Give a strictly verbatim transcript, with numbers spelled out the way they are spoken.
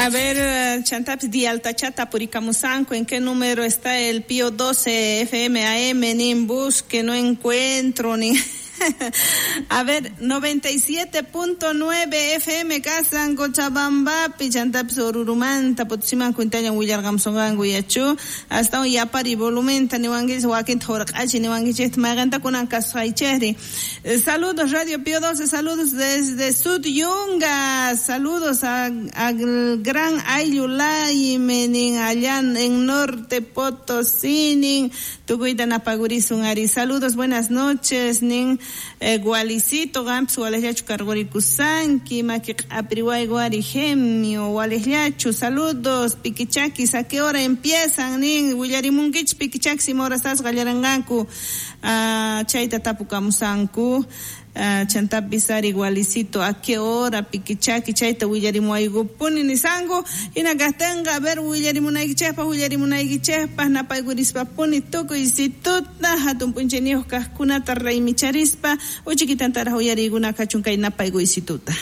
A ver, chantapis dialtachata purikamusanku, ¿en qué número está el Pío doce F M A M? Nin busque, no encuentro, ni... A ver, noventa y siete punto nueve F M kasan Cochabambapi, chantapis Orurumanta, Potosiman cuintañan willarqamusonqanku yachu, hasta un yapari volumenta niwankichis wakinta hurq'achi niwankichis mayqanta kunan kasqaychejri. Saludos Radio Pío doce, saludos desde Sud Yungas, saludos a, al gran Ayulayme nin allá en Norte Potosí nin tukuyta napagurisun ari. Saludos, buenas noches nin Eh, Gualicito, gampis walejllachu kargurikusanki, maki q'apriway guari gemio, walejllachu, saludos, pikichakis, ¿a qué hora empiezan? Nin, willarimunkichis pikichakis, ima horastas qallaranqanku, ah, chayta tapukamusanku. Ah, chantapis ari Gualicito, ¿a qué hora pikichaki? Chayta willarimuwaykupuni nisanku. Hina kajtinqa, a ver, willarimunaykichejpaj, willarimunaykichejpaj, napaykurispa-puni tukuy situta, hatun p'unchayniyuq kajkunata raymicharispa, uchikitantaraj uyariykuna kachun kay napaykuysituta.